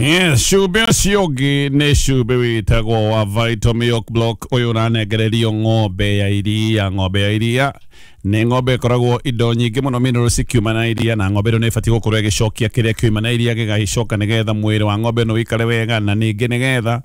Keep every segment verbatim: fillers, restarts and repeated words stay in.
Yes, cumbĩ ũcio ũngĩ nĩ cumbĩ wĩtagwo wa Vital Milk Block. Ũyũ ũranengererio ng'ombe ya iria. Ng'ombe ya iria nĩ ng'ombe ĩkoragwo indo nyingĩ mũno, minerals cikiuma na iria, na ng'ombe ĩno nĩ ĩbatiĩ gũkorwo ĩgĩcokia kĩrĩa kiuma na iria gĩgagĩcoka, nĩgetha mwĩrĩ wa ng'ombe ĩno ũikare wega, na ningĩ nĩgetha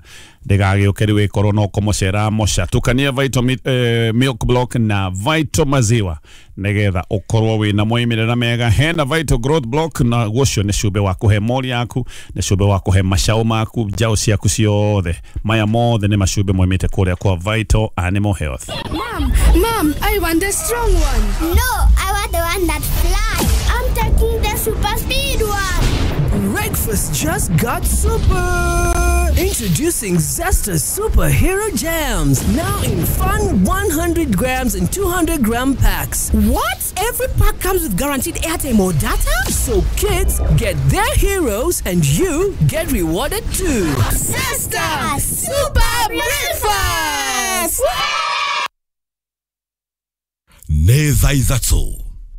ndĩgagĩũke rĩu ĩkorwo no kũmoca ĩramoca. Tukania Vital Mi- eh, Milk Block na Vital Maziwa nĩgetha ũkorwo wĩna moimĩrĩra mega. Hena Vital Growth Block, na ũcio nĩ cumbĩ wa kũhe mori yaku, nĩ cumbĩ wa kũhe macaũ maku, njaũ ciaku ciothe. Maya mothe nĩ macumbĩ moimĩte kũrĩa kwa Vital Animal Health. Mom, Mom, I want the strong one. No, I want the one that flies. I'm taking the super speed one. Breakfast just got super! Introducing Zesta Superhero Jams, now in fun one hundred grams and two hundred gram packs. What? Every pack comes with guaranteed airtime or data? So kids get their heroes and you get rewarded too. Zesta Super Breakfast! Nĩ thaa ithatũ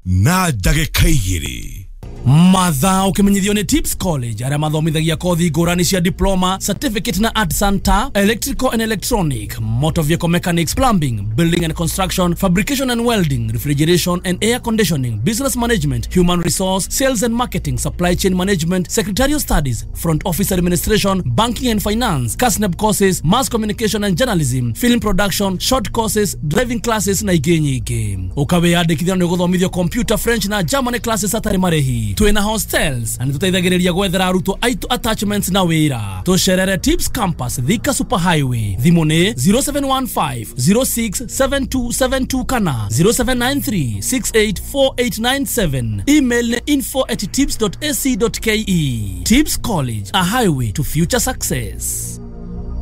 na ndagĩka igĩrĩ. Mathaa ũkĩmenyithio nĩ Tips College, arĩa mathomithagia kothi ngũrani cia diploma, certificate na art center, electrical and electronic, motor vehicle mechanics, plumbing, building and construction, fabrication and welding, refrigeration and air conditioning, business management, human resource, sales and marketing, supply chain management, secretarial studies, front office administration, banking and finance, KASNEB courses, mass communication and journalism, film production, short courses, driving classes na ingĩ nyingĩ. Ũkawĩyandĩkithia nĩ ũgũthomithio computer, French na German classes atarĩ marĩhi. Twĩna hostels na nĩtũteithagĩrĩria gwethera arutwo aitũ attachments na wĩra. Tũcerere Tips Campus, Thika Super Highway. Thimũ nĩ zero seven one five zero six seven two seven two kana zero seven nine three six eight four eight nine seven. Email nĩ info at tips dot ac dot ke. Tips College, a highway to future success.